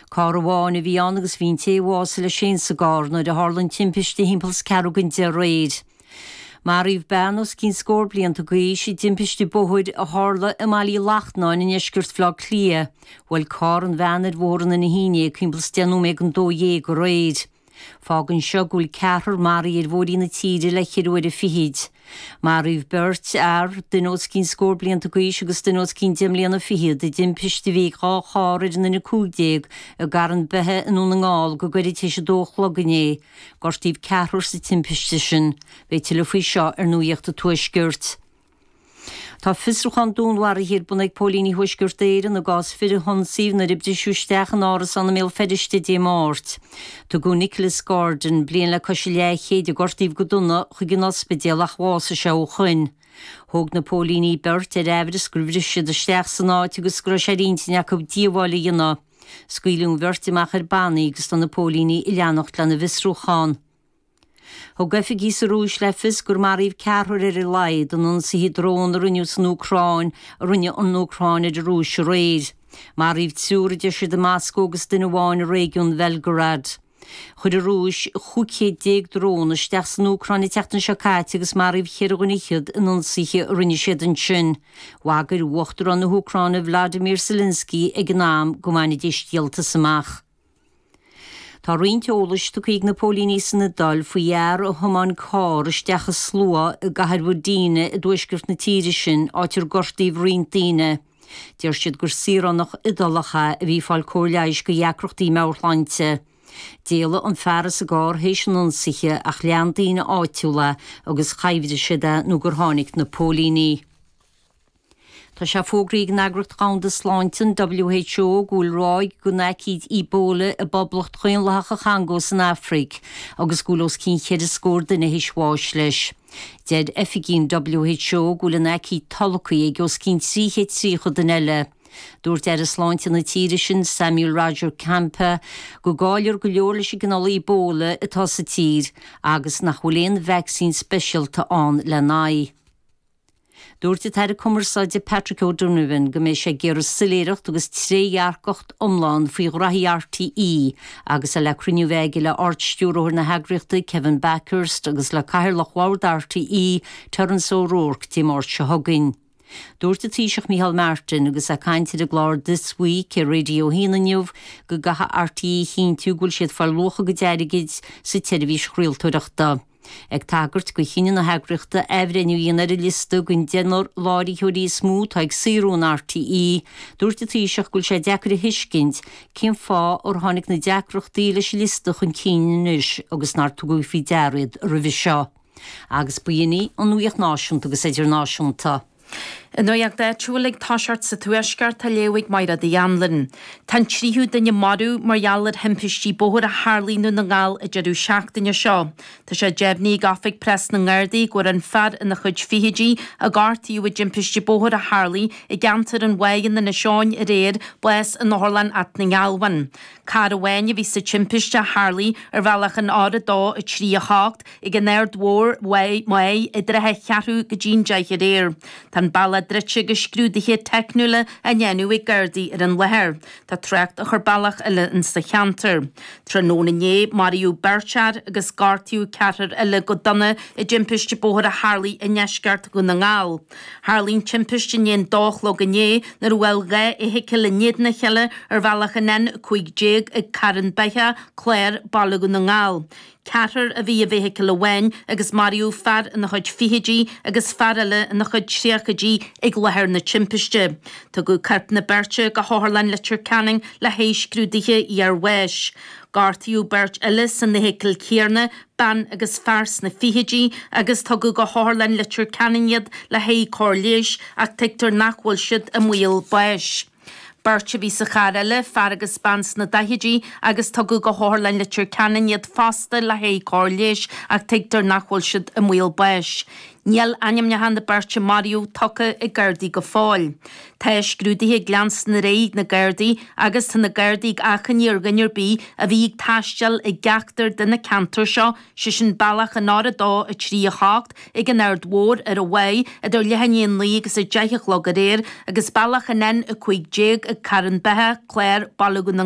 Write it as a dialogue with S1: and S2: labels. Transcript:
S1: Carr amháin a bhí ann agus bhí an té a bhásaigh leis féin sa gcarr nuair a tharla an timpiste thimpeall is ceathrú don 10 aréir. Maraíodh bean os cionn scór blianta d'aois i dtimpiste bóthair a tharla i mBaile Uí Lachtnáin i ndeisceart Bhaile Átha Cliath. Bhuail carr an bhean ar Bhóthar an Fhine ag thimpeall is 10 nóiméad don 12 aréir. Fágann seo go bhfuil ceathrar maraithe ar bhóithrí na tíre le ceithre huaire fichid. Maraíodh beirt fhear, duine os cionn scór blianta d'aois agus duine os cionn deich mbliana fichead, i dtimpiste a bhí ag dhá charr ar an N15 i gCarn Beithe i nDún na nGall go gairid tar éis a dó a chlog inné. Gortaíodh ceathrar sa timpiste sin. Beidh tuilleadh faoi seo ar Nuacht an Tuaiscirt. Tá fiosrúchán dúnmharaithe ar bun ag póilíní Thuaisceart Éireann i gcás fir a hionsaíodh nuair a briseadh isteach in árasán i mBéal Feirste Dé Máirt. Tugadh Nicholas Gordon, bliain le cois an leathchéid, a gortaíodh go dona, chuig an ospidéal ach bhásaigh sé ó shoin. Thóg na póilíní beirt ar aimhreas gur bhris siad isteach san áit agus go raibh sé ar intinn acu díobháil a dhéanamh. Scaoileadh an bheirt amach ar bannaí agus tá na póilíní ag leanacht lena bhfiosrúchán. Thug oifigigh sa Rúis le fios gur maraíodh ceathrar ar a laghad in ionsaithe drón a rinneadh san Úcráin a rinne an Úcráin ar an Rúis aréir. Maraíodh triúr, a deir siad i Moscó agus duine amháin i réigiún Bhelgorod. Chuir an Rúis 15 chéad drón isteach san Úcráin an tseachtain seo caite agus maraíodh cheithre dhuine fhichead in ionsaithe a rinne siad ansin. Bhagair Uachtarán na hÚcráine Vladimir Zelensky ag an am go mbainfidís díoltas amach. Tá roinnt eolais tugtha ag na póilíní san Iodáil faoi fhear a thiomáin carr isteach i slua i gcathair Mhodena i dtuaisceart na tíre sin, áit ar gortaíodh roinnt daoine. Deir siad gur saoránach Iodálach é a bhí ag fáil cóir leighis do dheacrachtaí meabhairshláinte. D'éalaigh an fear as an gcarr théis an ionsaithe ach lean daoine áitiúla é agus choimhdigh siad é nó gur tháinig na póilíní. Tá sé fógraithe ag an Eagraíocht Dhomhanda Sláinte, an WHO, go bhfuil ráig den aicíd Ebola i bPoblacht Dhaonlathach an Chongó san Afraic agus go bhfuil os cionn cheithre scór duine théis bháis leis. Deir oifigigh an WHO go bhfuil an aicíd tolgtha ag os cionn 330 duine eile. Dúirt Aire Sláinte na tíre sin, Samuel Roger Kamba, go gcáilear go leor leis an gcineál Ebola atá sa tír agus nach bhfuil aon vacsaín speisialta ann lena aghaidh. Dúirt an tAire Cumarsáide Patrick O'Donovan go mbeidh sé ag iarraidh soiléireacht agus trédhearcacht iomlán faoi ghraithí RTÉ agus é le cruinniú a bheith aige le Ard-Stiúrthóir na heagraíochta Kevin Bakhurst agus le Cathaoirleach Bhord RTÉ Terence O'Rourke Dé Máirt seo chugainn. Dúirt an Taoiseach Micheál Martin agus é ag caint ar an gclár This Week ar Radio 1 inniu go gcaithfidh RTÉ a chinntiú go bhfuil siad ag fáil luach a gcuid airgid sa tseirbhís chraoltóireachta. Ag tagairt do chinneadh na heagraíochta athbhreithniú a dhéanamh ar an liosta den deichniúr láithreoirí is mó atá ag saothrú in RTÉ, dúirt an Taoiseach go bhfuil sé deacair a thuiscint cén fáth ar tháinig na deacrachtaí leis an liosta chun cinn anois agus nár tugadh faoi deara iad roimhe seo. Agus ba shin í an nuacht náisiúnta agus idirnáisiúnta.
S2: An nuacht áitiúil ag toiseacht sa Tuaisceart á léamh ag Mairéad Uí Anluain. Tá an tríú duine marbh mar gheall ar thimpistí bóthair a tharlaigh i nDún na nGall an deireadh seachtaine seo. Tá sé deimhnithe ag Oifig Preas na nGardaí go bhfuair an fear ina chuid fichidí a gortaíodh i dtimpiste bóthair a tharlaigh i gceantar an Bháigh in Inis Eoghain aréir bás in Otharlann Áth na nGealbhan. Carr amháin a bhí sa timpiste a tharlaigh ar bhealach an R2 3 8 Ag an Aird Mhór, Maigh, i dtrátha cheathrú go dtí'n deich aréir. Tá an bealach druidte agus scrúduithe teicniúla á ndéanamh ag Gardaí ar an láthair. Tá trácht á chur bealach eile in sa cheantar. Tráthnóna inné, maraíodh beirt fhear agus gortaíodh ceathrar eile go dona i dtimpiste bóthair a tharlaigh i ndeisceart Dhún na nGall. Tharlaigh an timpiste i ndiaidh an dó a chlog inné nuair a bhuail dhá fheithicil in éadan a chéile ar bhealach an N15 ag Carn Beithe, Clár, Baile Dhún na nGall. Ceathrar a bhí i bhfeithicil amháin agus maraíodh fear ina chuid fichidí agus fear eile ina chuid tríochaidí ag láthair na timpiste. Tugadh coirp na beirte go hOtharlann Leitir Ceanainn le haghaidh scrúduithe iarbháis. Gortaíodh beirt eile san fheithicil chéanna, bean agus fear sna fichidí, agus tugadh go hOtharlann Leitir Ceanainn iad le haghaidh cóir leighis ach tuigtear nach bhfuil siad i mbaol báis. Beirt a bhí sa charr eile, fear agus bean sna daichidí, agus tugadh go hOtharlann Leitir Ceanainn iad fosta le haghaidh cóir leighis ach tuigtear nach bhfuil siad i mbaol báis. Níl ainmneacha na beirte a maraíodh tugtha ag Gardaí go fóill. Tá scrúduithe ag leanstan ar aghaidh ag na Gardaí agus tá na Gardaí ag achainí ar dhuine ar bith a bhí ag taisteal i gceachtar de na ceantair seo, sé sin bealach an R2, 3, 8 ag an Aird Mhór ar an Mhaigh idir leath i ndiaidh a 9 agus 10 a chlog aréir agus bealach an N15 ag Carn Beithe, Clár, Baile Dhún na.